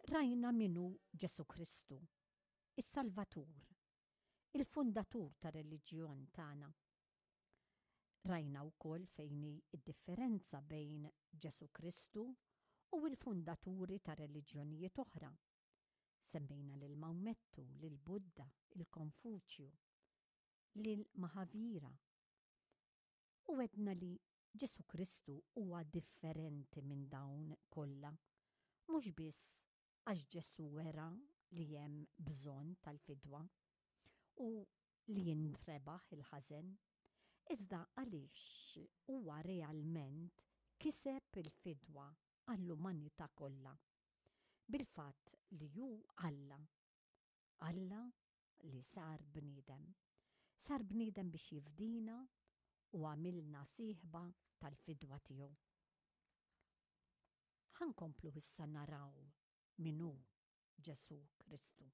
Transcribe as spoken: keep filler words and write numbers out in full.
Rajna min hu Ġesù Kristu, is-Salvatur, il-fundatur tar-reliġjon tagħna. Rajna wkoll fejn hi d-differenza bejn Ġesù Kristu u l-fundaturi ta' reliġjonijiet oħra. Semmejna lil Mawmettu, lil Budda, il-Konfuċju, lil Mahavira. U għedna li Ġesù Kristu huwa differenti minn dawn kollha, mhux biss għax Ġesù wera li hemm bżonn tal-fidwa u li jintrebaħ il-ħażen, iżda għaliex huwa realment kiseb il-fidwa għall-umanità kollha. Bil-fatt li hu Alla, Alla li sar bniedem. Sar bniedem biex jifdina u għamilna sieħba tal-fidwa tiegħu. Ħa nkomplu issa naraw min hu Ġesù Kristu.